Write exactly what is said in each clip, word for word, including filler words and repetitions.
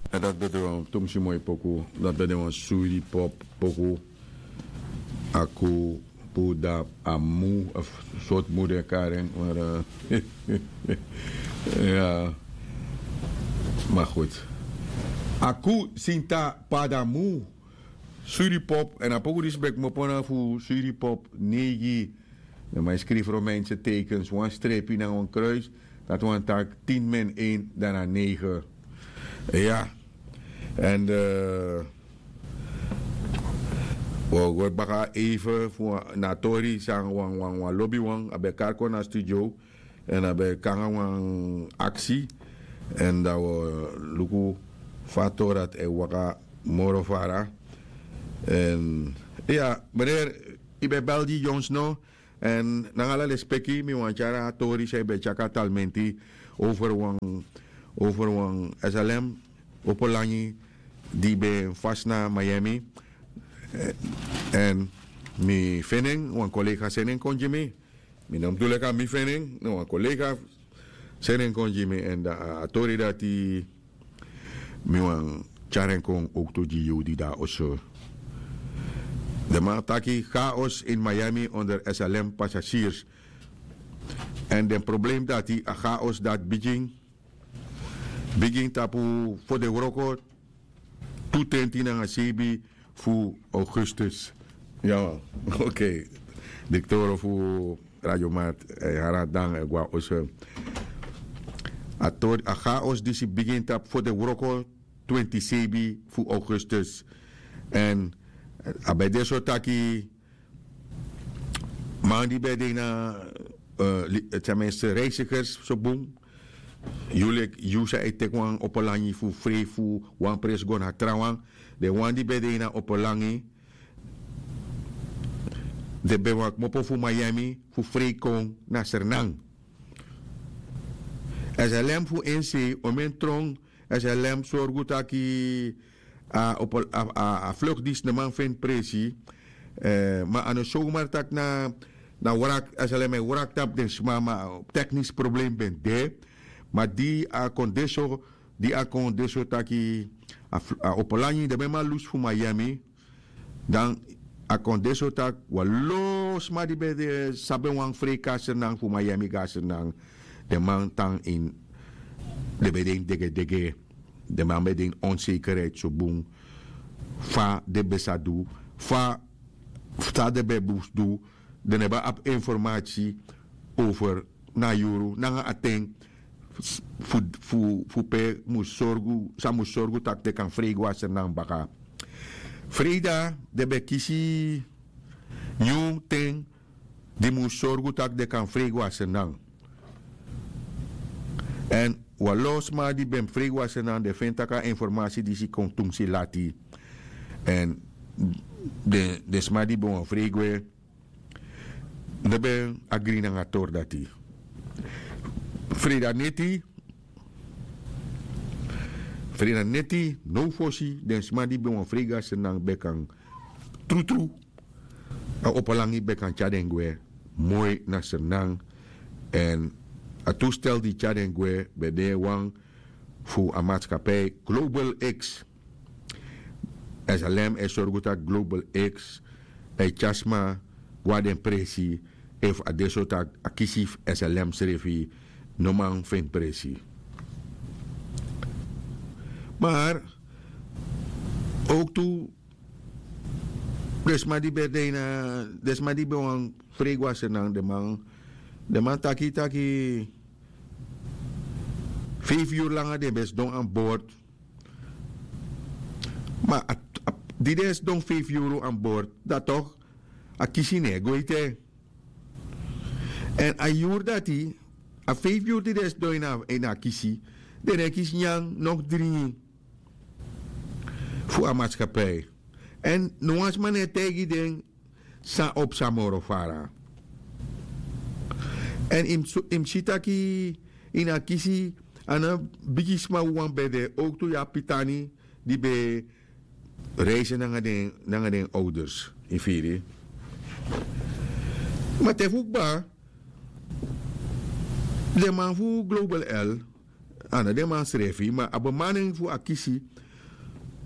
En dat ben de wan tumsi moi poku, dat ben de wan suri pop poku. Aku puda amu of sort mu den karen mara. Ya. Maar goed. Aku sinta padamu. Suri pop en a poku disi ben kmopo na fu suri pop neigi. Dan man skrifi romeinse tekens wan strepi na wan kruis. Dati wan taki tin men en dan na negen. Ya. En wi o go baka even fu na a tori san wan wan wan lobi wan a ben kari kon na studio. En a ben kon nanga wan aksi. En dan wi o luku fa a tori dati e waka moro fara. En ya, meneer, yu ben bel gi yu ons no. En nanga ala lespeki mi wani tyari a tori san yu ben tyari kon na talmenti over wan over wan slm opo langi di ben fasi na miami. En mi feni en wan kolega seni en kon gi mi. Mi no mus du leki a mi feni en na wan kolega seni en kon gi mi èn dan a tori dati mi wani tyari en kon owktu gi yu di de na oso. Den man taki chaos in miami onder slm passasiers. Èn den problem dati a chaos dati bigin bigin tapu fodewroko tu tenti nanga sebi fu augustus. Ya man. Okei. Direktoro fu radio mart e hari a dan e go na oso. A tori a chaos disi bigin tapu fodewroko twenti sebi fu augustus. Èn a ben de so taki man di ben de ini a ten minste reisigers so bun. Yu leki yu san e teki wan opo langi fu frei fu wan presi go na trawan. Den wan di ben de ini a opo langi den ben wani kmopo fu miami fu frei kon na sernan. Slm fu ensei o men tron slm sorgu taki a fluk disi no man feni presi. Ma a no sowmar taki na wrak slm e wrak tapu den sma ma teknisi problem ben de. Ma di a kon de so di a kon de so taki a opo langi den ben man lusu fu miami. Dan a kon de so taki wan lo sma di ben de sabi en wan frei kon na sernan fu miami go na sernan. Den man tan ini den ben de ini degedege. Den man ben de ini onsekerheid so bun fa den ben sa du fa san den ben mus du. Den no ben abi informasi over na a yuru nanga a ten fu pe mus sorgu san mus sorgu tak' den kan frei go na sernan baka. Freida den ben kisi nyun ten di mus sorgu tak' den kan frei go na sernan. Èn wan lo sma di ben frei go na sernan den feni tak' a informasi disi kon tumsi lati. Èn den sma di ben wani frei gwe no ben agri nanga a tori dati. Freida neti freida neti now fosi den sma di ben wani frei go na sernan ben kan trutru. A opo langi ben kan tyari den gwe moi na sernan. Èn a tustel di tyari den gwe ben de wan fu a matskapi global x. Slm e sorgu tak' global x e tyari sma go na den presi efu a de so tak' a kisi fu slm srefi no man feni presi. Mar owktu den sma di ben de ini a den sma di ben wani frei go na sernan den man den man taki taki feifi yuru langa den ben sidon an bord. Ma di den sidon feifi yuru an bord dan tok' a kisi no e go ete. Èn a yuru dati a feifi yuru di den sidon ini a kisi den no e kisi nyan no dringi fu a matskapi. Èn no wan sma no e taigi den san o psa moro fara. Èn yu mus si taki ini a kisi a no bigi sma wawan ben de owktu yu abi pitani di ben reisi nanga den owders yu firi. Ma te fu kba den man fu global l a no den man srefi ma a bemaning fu a kisi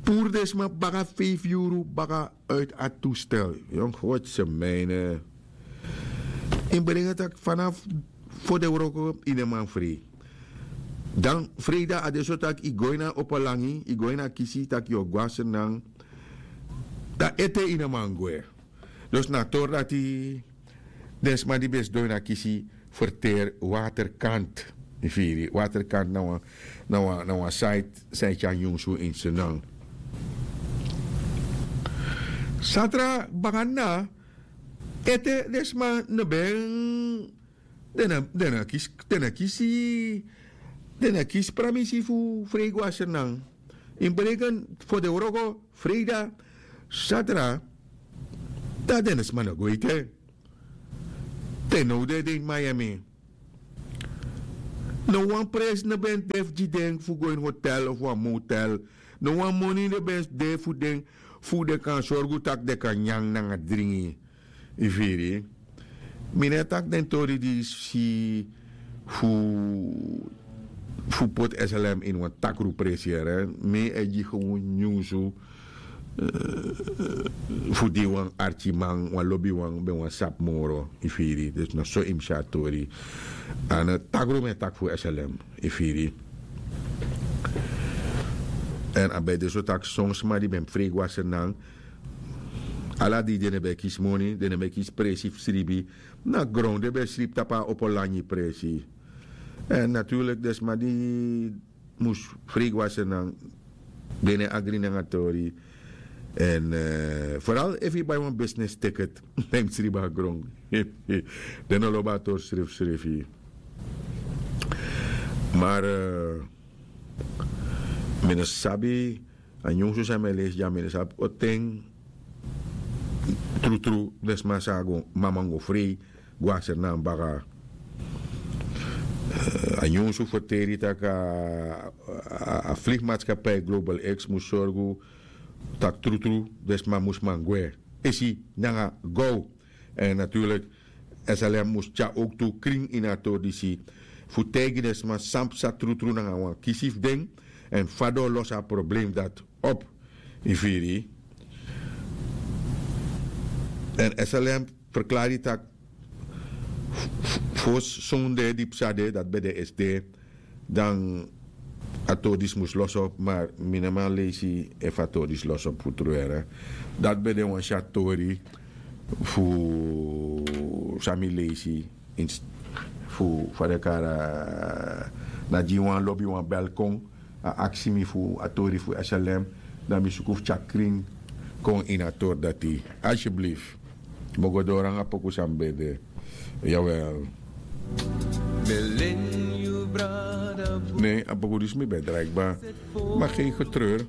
puru den sma baka feifi yuru baka. Uit a toestel yon gotse mijne in brengen taki vanaf fo den wroko ini en man frei. Dan freida a de so taki yu go ini a opo langi yu go ini a kisi taki yu o go na sernang. Dan ete ini en man gwe. Dus na a tori dati den sma di ben sidon ini a kisi ferteri waterkant. Yu firi waterkant na wan na wan na wan site san e tyari nyunsu ini sernang. Satra baka na ete den sma no ben den na den na kisi den na kisi den na kisi pramisi fu frei go na sernang. Ini breken fo den wroko freida satra. Dan den sma no go ete. Te now den de ini miami. No wan presi no ben de fu gi den fu go ini hotel of wan motel. No wan moni no ben de fu den fu den kan sorgu tak' den kan nyan nanga dringi. Yu firi mi no e taki den tori di si fu fu poti slm ini wan takru presi yere mi e gi gewon nyunsu. Fu di wan arkiman wan lobiwan ben wan sabi moro yu firi dus na so yu mus si a tori. A no takru mi e taki fu slm yu firi. Èn a ben de so taki son sma di ben mus frei go na sernang. Ala di den no ben e kisi moni den no ben e kisi presi fu sribi. Na gron den ben e sribi tapu a opo langi presi. Èn naturlik den sma di mus frei go na sernang den no e agri nanga tori. Èn foral efu yu bai wan bisnis tiket dan yu mus sribi na gron. Den no lobi a tori srefsrefi. Mar mi no sabi a nyunsu san mi e leisi dya mi no sabi o ten. Trutru den sma sa go mama go frei go na sernang baka. A nyunsu ferteri tak' a fligmatskapi global x mus sorgu tak' trutru den sma mus man gwe esi nanga gow. Èn naturlik slm mus tyari owktu krin ini a tori disi fu taigi den sma san psa trutru nanga wan kisi fu den èn fa den o losi a problem dati op. Yu firi yu èn slm ferklari tak' fosi sonde di psa de dati ben de esi de. Dan a tori disi mus losi op mar mi no man leisi efu a tori disi losi op fu tru here. Dati ben de wan si a tori fu san mi leisi fu fa den kari a na gi wan lobi wan bel kon a aksi mi fu a tori fu slm. Dan mi suku fu tyari krin kon ini a tori dati. Alsyeblief. Mi o go doro nanga poku san mi ben de. Jawel. Ne a poku disi mi ben drai kba. Ma gen getreur.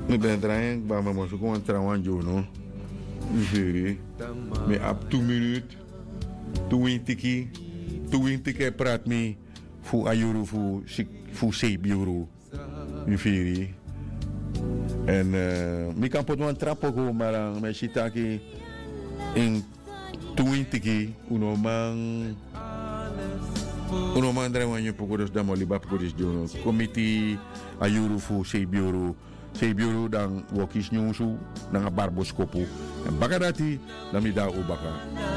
Mi ben drai en kba ma mi o suku wan trawan gi unu. Mi firi mi abi tu minut. Tu wintiki. Tu wintiki e prati mi fu a yuru fu seibi yuru. Yu firi. Èn mi kan poti wan tra poku ma dan mi e si taki ini tu wintiki un no man un no man drai wan nyun poku dus dan mi o libi a poku disi gi unu. Kon miti a yuru fu seibi yuru. Seibi yuru dan wi o kisi nyunsu nanga barboskopu. Èn baka dati dan mi de na un baka.